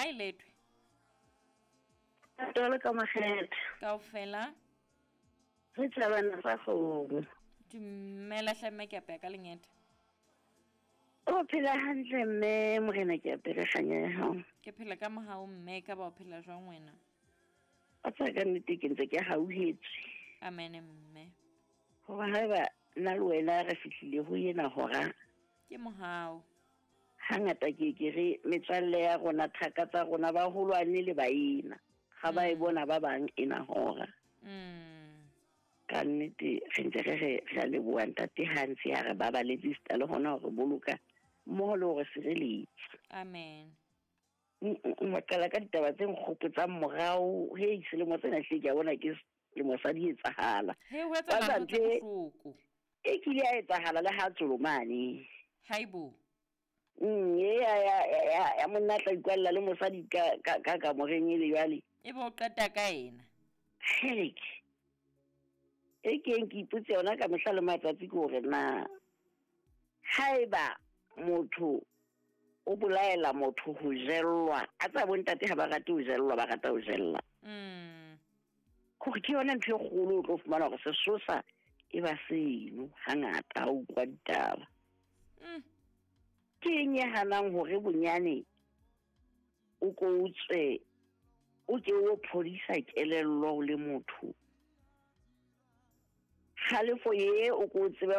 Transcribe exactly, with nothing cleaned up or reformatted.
Kae Letwe? Tolo ka makgethe. Kaofela. Re tsabana sa kgomo. Dumela hle mme, ke apeya ka lengete. O phela hantle mme, morena ke apere kganya ya hao. Ke phela ka mohau mme, ka ba o phela jwang wena? O tseba ka nnete ke ntse ke hauhetswe. Amen mme. Hoba haeba nna le wena re fihlile ho ena hora. Ke mohau. Hangata ke ke re metswalle ya rona, thaka tsa rona, baholwane le baena. Ga ba e bona ba bang ena hora. Mm. Ka nnete re ntse re re re a leboha ntate ha ntse a re babaletse esita le hona hore boloka mmoho le hore sireletse. Amen. Wa qala ka ditaba tse nkgopotsang morao. Hei, selemo sena hle ke a bona ke selemo sa di etsahala. He, ho etsahala ntho tse bohloko. E kile ya etsahala le ha Tsolomane. Haibo. Mm, e ya ya ya ya monna tla ikwalla le mosadi ka ka ka kamoreng ele jwale. E bo qeta ka ena. Helek. E ke ke ipotse yona ka mehla le matsatsi ke hore na haeba motho o bolaela motho ho jellwa, a tsa bontate ha ba rate ho jellwa, ba rata ho jella. Mm. Hore ke yona ntho e kgolo o tlo fumana hore sesosa e ba seno hangata ha o utlwa ditaba. Mm. Ke eng e hanang hore bonyane o ko o tswe, o ke o phodisa kelello o le motho? Kgalefo e o ko o tsebe